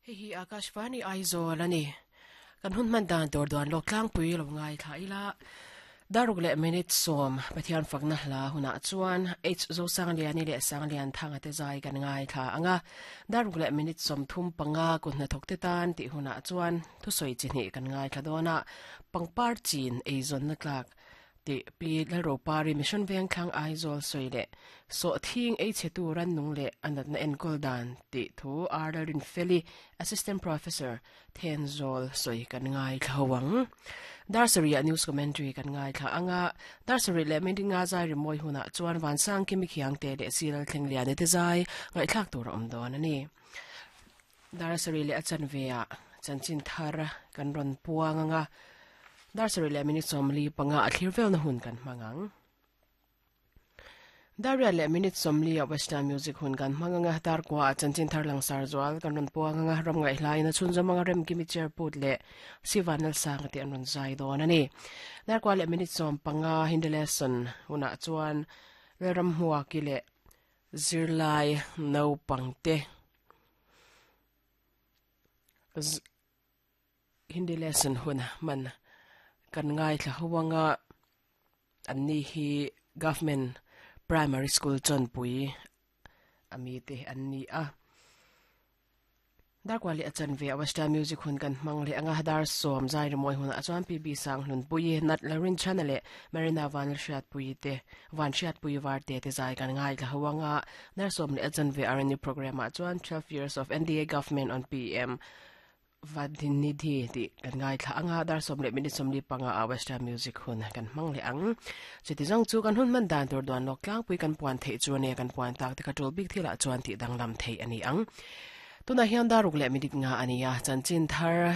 Hei hi Akashvani Aizawl a ni. Kan hun hman dan tur duan lawk tlangpui lo ngaithla ila. Daruk leh minute sawm Pathian fakna hla hunah chuan H Zosangliani leh Sanglianthanga te zai kan ngaithla ang a. Daruk leh minute 35 kut hnathawk te tan tih hunah chuan thusawi chi hnih kan ngaithla dawn a. Pangpar chin eizawnna tlak Tih Pi Lalropari Mission Vengthlang Aizawl sawi leh Sawhthing ei chhetu rannung leh a natna enkawl dan tih thu R Lalrinfeli, Assistant Professor, Thenzawl sawi kan ngaithla ho ang. Dar sarih ah News Commentary kan ngaithla ang a, dar sarih leh minute nga zai rimawi hunah chuan Vansang Kimi Khiangte leh Si Lalthlengliani te zai ngaihthlak tur a awm dawn a ni. Dar sarih leh a chanve ah chanchin thar kan rawn puang ang a, dar sarih leh minute 45 a thlir velna hun kan hmang ang. Dar riat leh minute 40 ah Western Music hun kan hmang ang a, dar kua ah chanchin thar langsar zual kan rawn puang ang a, ram ngaihlaiin a chhunzawm ang a, Remkimi Chairput leh Sivan Lalsanga te an rawn zai dawn a ni. Dar kua leh minute 15 Hindi lesson hunah chuan Lalramhmuaki leh zirlai naupangte Hindi lesson hun hman kan ngaithla ho anga an ni hi government primary school chawnpui ami te an ni a. Darkual leh a chanve a Western music hun kan hmang leh anga dar sawm zai rimawi hunah chuan PB Sanghlunpuii, Nat Larinchhana leh Marina Vanlalhriatpuii te Vanhriatpuii Varte te zai kan ngaithla ho anga dar sawm leh a chanve RNU programme ah chuan 12 years of NDA government on PM Vadinidhi tih kan ngaithla anga dar sawm leh minute 45 ah Western music hun kan hmang leh ang. Chuti zawng chu kan hun hman dan tur duan lawk tlangpui kan puan theih chu a nia kan puan tak te kha tul bik thilah chuan tih danglam theih a ni ang. Tunah hian daruk leh minute nga a ni a, chanchin thar.